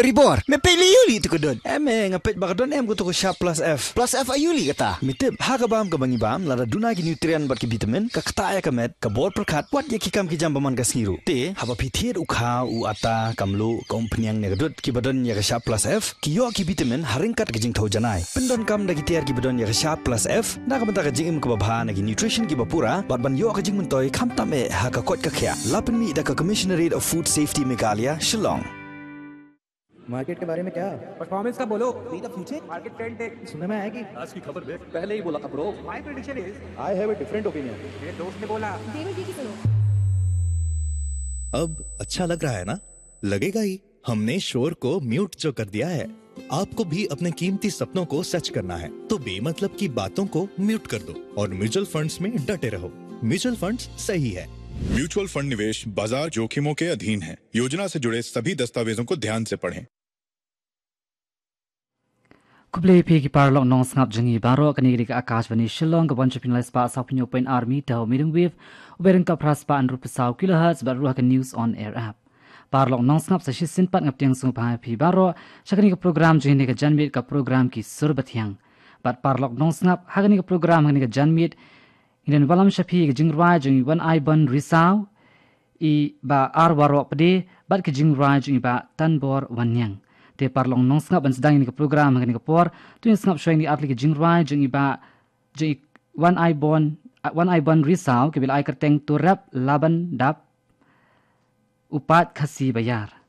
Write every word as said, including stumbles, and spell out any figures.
Ribor, me peit lei ïa u lei tu ka dud. Em, eh, nga peit ba ka don em ka tu ka Sharp Plus F. Plus F aïu lei kata? Me tip, ha ka bam kaba ngi bam, lada duna ki nutrient bad ki vitamin, ka ktah ïa ka met, ka bor pyrkhat, wat ïa ki kam ki jam ba man ka sngi ruh. Te, haba phi thied u khaw, u atta, ka mluh, ka umphniang ne ka dud, kiba don ïa ka Sharp Plus F, ki ïoh ki vitamin, ha ryngkat ka jingthew janai. Pyndonkam da ki tiar kiba don ïa ka Sharp Plus F, na ka bynta ka jingim kaba bha na ki nutrition kiba pura, bad ban ïoh ka jingmyntoi, khamtam eh, ha ka koit ka khiah. La pynmih da ka Commissionerate of Food Safety Meghalaya, Shillong. मार्केट के बारे में क्या? परफॉर्मेंस का बोलो। बी द फ्यूचर। मार्केट ट्रेंड देख। सुनने में आया कि आज की खबर देख। पहले ही बोला था ब्रो। माय प्रेडिक्शन इज। आई हैव अ डिफरेंट ओपिनियन। मेरे दोस्त ने बोला। देवर जी की सुनो। अब अच्छा लग रहा है ना? लगेगा ही। हमने शोर को म्यूट जो कर दिया है। आपको भी अपने कीमती सपनों को सच करना है, तो बेमतलब की बातों को म्यूट कर दो और म्यूचुअल फंड्स में डटे रहो। म्यूचुअल फंड्स सही है। म्यूचुअल फंड निवेश बाजार जोखिमों के अधीन है। योजना से जुड़े सभी दस्तावेजों को ध्यान से पढ़ें। Khublei phi ki paralok nongsngap jong ngi baroh, kane ka dei ka Akashvani Shillong, ka one oh three point five meter wave, u bearing ka phra spah hynriew phew saw kilohertz, bad ruh ha ka News on Air app. Paralok nongsngap, sa shisien pat nga pdiang sngewbha ïa phi baroh sha kane ka program jong ngi, ka janmiet, ka program Ki Sur Bathiang. Bad paralok nongsngap, ha kane ka program, ha kane ka janmiet, ngi don wallam sha phi ka jingrwai jong i Wanaiborn Risaw, i Bah R Warok Pde, bad ka jingrwai jong i Bah Tanbor Wanniang. Te paralok nongsngap, ban sdang ïa kane ka program ha kane ka por, to ngin sngap shuwa ïa kine ki artylli ki jingrwai jong i Bah, jong i Wanaiborn, Wanaiborn Risaw, kiba la ai kyrteng To Rep Laban Dap, U Paid Khasi Ba Ïar.